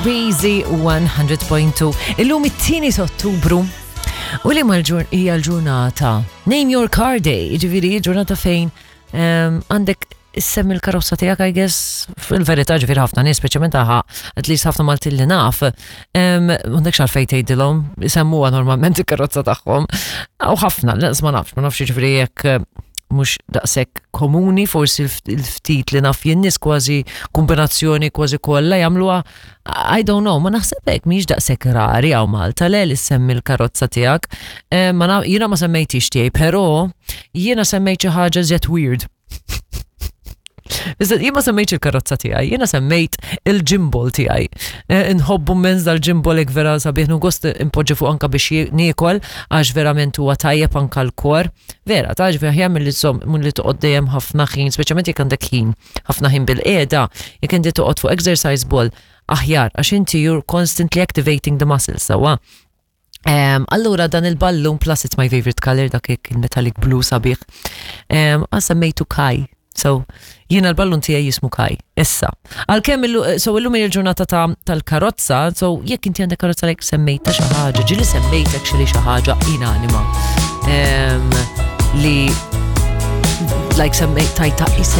Easy 100.2. Illum it-tieni Ottubru u li mal hija l-ġurnata Name Your Car Day, ġifieri ġurnata fejn għandek issemmi l-karozza tiegħek, I guess, fil-verità ġifieri ħafna nies, speċjalment aħa, at least ħafna Maltin li naf, m'għandekx għalfejn tgħidilhom, isemmuha normalment il-karozza tagħhom. U ħafna, lanqas ma nafx, ma nafx ġifieri jekk mhux daqshekk komuni, forsi il-ftit li naf jien nies kważi kombinazzjoni kważi kollha jagħmluha, I don't know, ma naħseb hekk mhix daqshekk rari hawn Malta le li semmi l-karozza tiegħek. Ma jiena ma semmejtix tiegħi, però jiena semmejt xi ħaġa żjed weird. Iżda jien ma semmejtx il-karozza tiegħi, jiena semmejt il-gimbal tiegħi. Nħobbu immens dal-gimbal hekk vera sabiħ gost impoġġi fuq anka biex niekol għax verament huwa tajjeb anka l-kor. Vera, ta' ġifieri aħjar milli żomm milli toqgħod dejjem ħafna ħin, speċjalment jekk għandek ħin, ħafna ħin bil-qiegħda, jekk inti toqgħod fuq exercise ball aħjar għax inti you're constantly activating the muscles, sewwa. Allura dan il-ballun plus it's my favorite color, dak il-metallic blue sabiħ. Semmejtu Kai. So, jiena l-ballun tiegħi jismu Kai. Issa. Għalkemm so illum hija l-ġurnata tal-karozza, so jekk inti għandek karozza lek semmejta xi ħaġa, ġieli semmejt actually xi ħaġa inanima. Li like semmejt tajta isem.